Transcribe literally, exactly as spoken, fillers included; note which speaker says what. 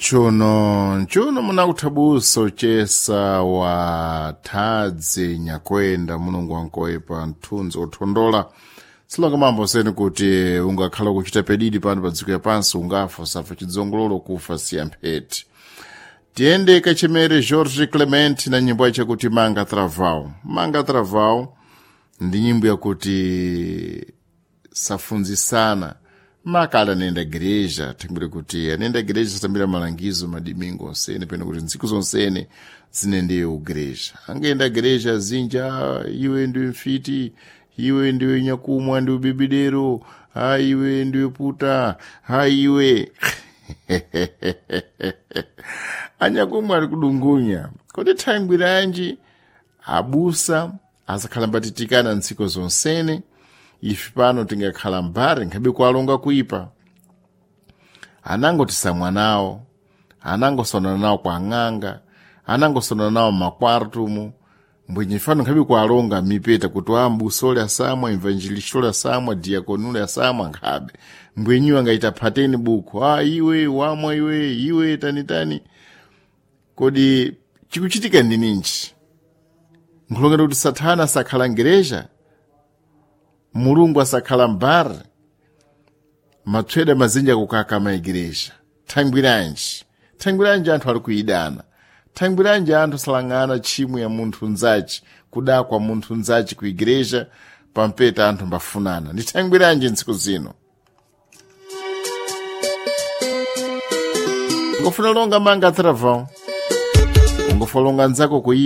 Speaker 1: Nchuno nchuno munakuthabusa uchesa wa thadzi nyakwenda mulungu wankoepa mthunzi othondola silonga mambo seni kuti ungakhala kuchita pedidi pano pa dziko yapansi ungafa usafa chidzongololo kufa siya mpheti. Tiyende kachemere Jorge Clement na nyimbo yace kuti Manga Travau. Manga Travau ndi nyimbo yakuti safunzisana makala anayenda gereja thangwire kuti anayenda gereja satambira malangizo madimingo onsene peno kuti ntsiku zonsene zinendeyo ugereja angayenda gereja zinja iwe ndiwe mfiti, iwe ndiwe nyakumwa ndiwe bibidero, ha iwe ndiwe puta, ha iwe anyakumwa ali kudungunya. Kodi thangwiranji abusa azakhala mbatitikana ntsiku zonsene ife pano tingakhala mbari nkhabe kualonga kuipa. Anangotisamwa nawo, anangosonana nawo kwa ng'anga, anangosonana nawo makwartumu mbwenye fano nkhabe kualonga mipeta kuti ambusa ole asamwa, evangelista ole asamwa, diakoni ole asamwa nkhabe mbwenyiwo angaita phateni buku, ah iwe wamwa iwe iwe tanitani. Kodi chikuchitika ndi ninji? Nkhulongera kuti sathana asakhala ngereja, mulungu asakhala mbari, matsweda mazinja kukaka maigereja. Thangwiranji thangwiranji anthu ali kuidana, thangwiranji anthu salang'ana tchimo ya munthu nzaci, kudakwa munthu nzaci ku igereja pampeta anthu mbafunana. Ndi thangwiranji ntsiku zino ngofuna longa manga atravão, ungofuna longa nzako kuipa.